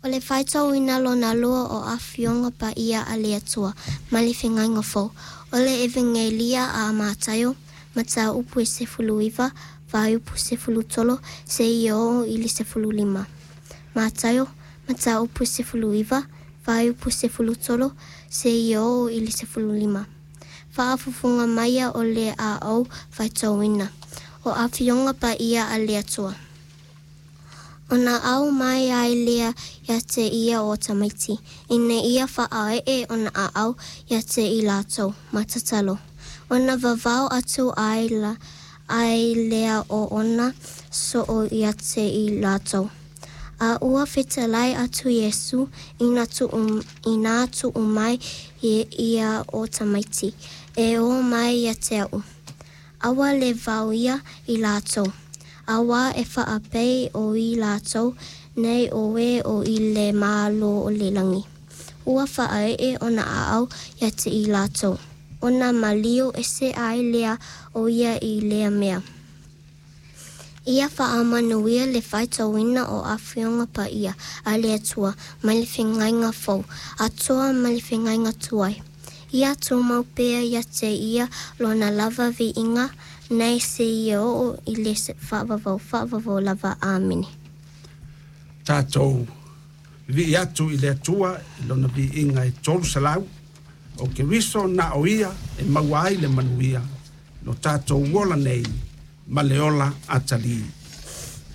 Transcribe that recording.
O le faitauina lona lua o Afioga Paia a le Atua mai le Feagaiga Fou. O le Evegelia a Mataio, mataupu e 19, fuaiupu 13 seia oo i le 15. Mataio, mataupu e 19, fuaiupu 13 seia oo i le 15. Faafofoga maia o le a ou faitauina. O Afioga Paia a le Atua. Ona aumai ai lea ia te ia o tamaiti, ina ia faaee ona aao ia te i latou, ma tatalo. Ona vavao atu ai, la, ai lea o ona soo ia te i latou. A ua fetalai atu Iesu ina tuu, ina tuu mai ia o tamaiti, e o mai ia te au. Aua le vaoia i latou. Auā e faapei o i latou nei o e o i le Malo o le lagi. Ua faaee ona aao ia te i latou. Ona maliu ese ai lea o ia i lea mea. Ia faamanuia le faitauina o Afioga Paia a le Atua mai le Feagaiga Fou, atoa ma le Feagaiga Tuai. Ia tumau pea ia te ia lona lava viiga, nei seia oo i le faavavau faavavau lava. Amene. Tatou vivii atu i le Atua i lona viiga e 300 o Keriso na o ia e maua ai le manuia no tatou ola nei ma le ola atalii.